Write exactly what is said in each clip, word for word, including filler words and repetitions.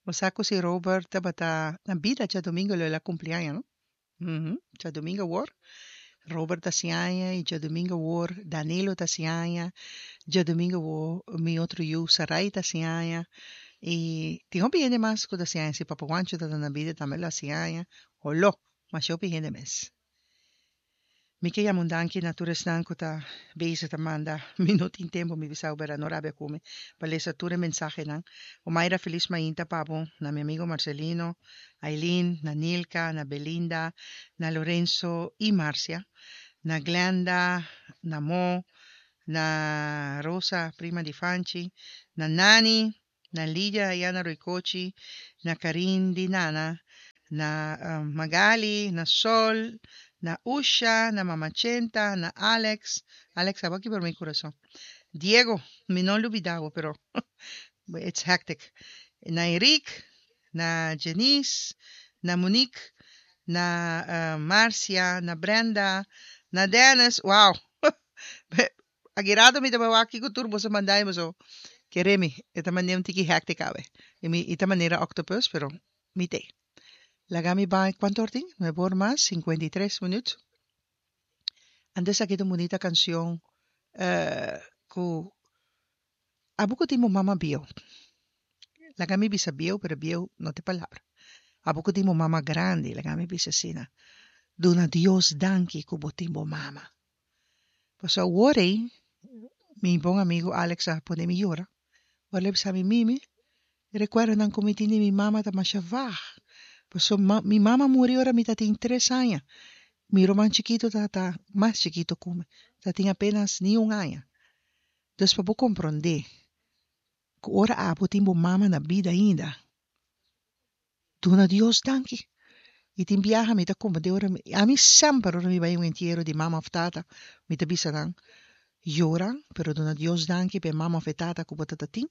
Bo sa ku si Robert tabata na bida djadumingu lo el a kumpli aña, no? Uhum. Djadumingu awor Robert ta hasi aña i djadumingu awor Danilo ta hasi aña. Djadumingu awor mi otro yu Sarai ta hasi aña. I tin hopi hende mas ku ta hasi aña. Si Papa Juancho tabata na bida tambe lo a hasi aña. Holó, masha hopi hende mes. Mi ke yama un danki na tur esnan ku ta bezig ta manda. Mi no tin tempu, mi bisa bo, no rabia ku mi, pa lesa tur e mensahenan. Omaira, felis mainta pa bo, na mi amigo Marcelino, Aileen, na Nilka, na Belinda, na Lorenzo i Marcia, na Glenda, na Mo, na Rosa, prima di Fanchi, na Nani, na Lidia Ayana Roycochi, na Karin di Nana, na um, Magali, na Sol, na Usha, na Mama Chenta, na Alex. Alex, abo a kibra mi kurason. Diego, mi no a lubidá bo, pero it's hectic. Na Enrique, na Janice, na Monique, na uh, Marcia, na Brenda, na Dennis. Wow. Agirado mi taba waki ku turbo sa manday mo so. Keremi, ita man un tiki hectic awe. I mi ita manera octopus, pero mi te. Laga mi bai kuantu or tin? Nuebe or mas sinkuenta i tres minüt. Antes aki ta un bunita kanshon uh, ku abo ku tin bo mama bieu. Laga mi bisa bieu, pero bieu no ta e palabra. Abo ku tin bo mama grandi, laga mi bisa asina. Duna Dios danki ku bo tin bo mama. Pasobra awor ei, mi bon amigu Alex a pone mi yora. Ora el a bisa mi, Mimi, e rekuerdonan ku mi tin di mi mama ta masha vag. Pasobra mi mama muri ora mi ta tin tres aña. Mi ruman chikitu ta ta mas chikitu ku mi, ta tin apenas ni un aña. Dus pa bo komprondé ku ora abo tin bo mama na bida ainda, duna Dios danki. I tin biaha mi ta komprendé ora mi, ami semper ora mi bai un entiero di mama òf tata, mi ta bisa nan, yora, pero duna Dios danki pa e mama òf e tata ku bo ta ta tin,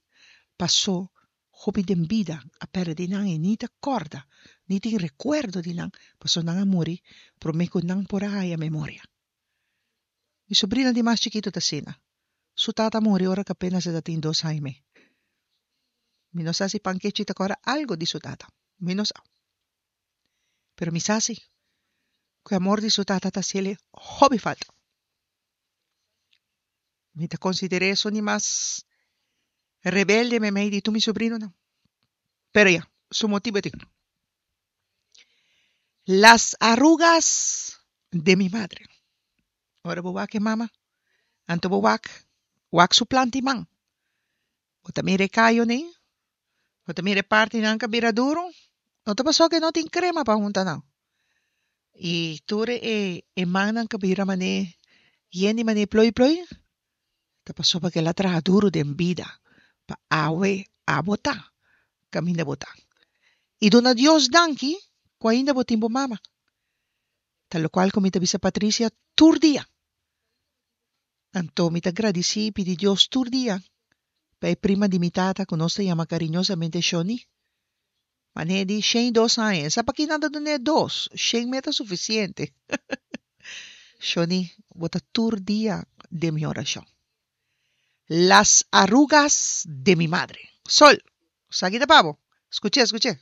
pasó hopi den bida a pèrdè di nan i ni ta kòrda, ni tin rekuerdo di nan, pasobra nan a muri promé ku nan por a haña memoria. Mi sobrina di mas chikitu ta asina. Su tata a muri ora ku apenas e ta tin dos aña i mei. Mi no sa si Pankechi ta kòrda algu di su tata. Mi no sa. Pero mi sa si ku e amor di su tata ta hasiel hopi falta. Mi ta konsider'é esun di mas rebelde meimei di tur mi sobrinonan. Pero ya, su motibu e tin. Las arrugas de mi madre. Ora bo wak e mama, anto bo wak, wak su planta i man. Bo ta mira e kayonan, bo ta mira e partinan ku a bira duru. No ta pasobra ku e no tin krema pa hunta nan. I tur e e mannan ku a bira manera yen di manera ploi ploi, ta pasobra ku el a traha duru den bida pa awe abo ta kaminda bo ta. I duna Dios danki ku ainda bo tin bo mama. Ta lokual ku mi ta bisa Patricia tur dia. Anto mi ta gradisí i pidi Dios tur dia pa e prima di mi tata ku nos ta yama kariñosamente Shoni. Manera di shen i dos aña. E sa pakí nan ta dun'é dos, shen me ta sufisiente. Shoni, bo ta tur dia den mi orashon. Las arrugas de mi madre. Sol, esaki ta pa bo. Skuch'é, skuch'é.